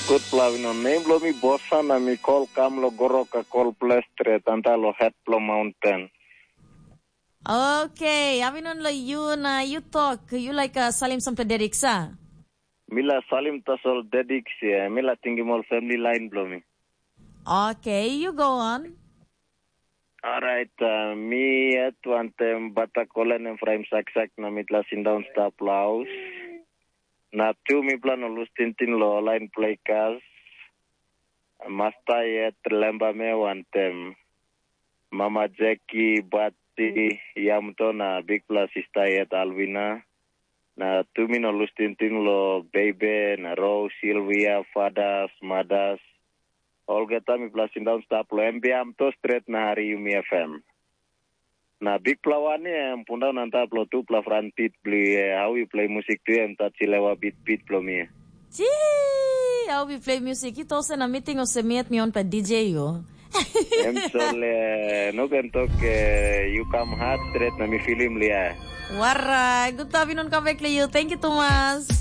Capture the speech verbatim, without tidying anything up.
Gutpela Avinon, nem bilong mi Bosan na mi kol kam lo Goroka kol ples stret anta lo het bilong maunten. Okay, Avinon lo yu na yu tok, yu like uh, salim sampela dedik sa? Mi la salim tasol dedik sia, mi la tingim ol family line bilong mi. Okay, you go on. Alright, uh, mi yet wantem bata kolen em fraim saksak na mitla sindaun stap lo haus. Na tu mipela no lus tingting lo lain plekas. Masta yet lemba me wantem. Mama Jeki, Bati, Yamto na bikpela sista yet Alvina. Na tu mi no lus tingting lo Bebe, na Rose, Silvia, Fadas, Madas. Olgeta mipela sindaun stap lo M B M to stret na hari Yumi F M. Na bikpela wan ya em pundaun antap lo tupela fran pit bilong yu ya, hau yu play musik tu ya em tat silewa bit bit bilong mi. Ji, hau yu play music? Yu tok se na meeting olsem mi yet mi on pa D J yu. Em sole, no ken tok eh, you come hard straight na mi filim lia. Warai, good afternoon, come back to you. Thank you, Thomas.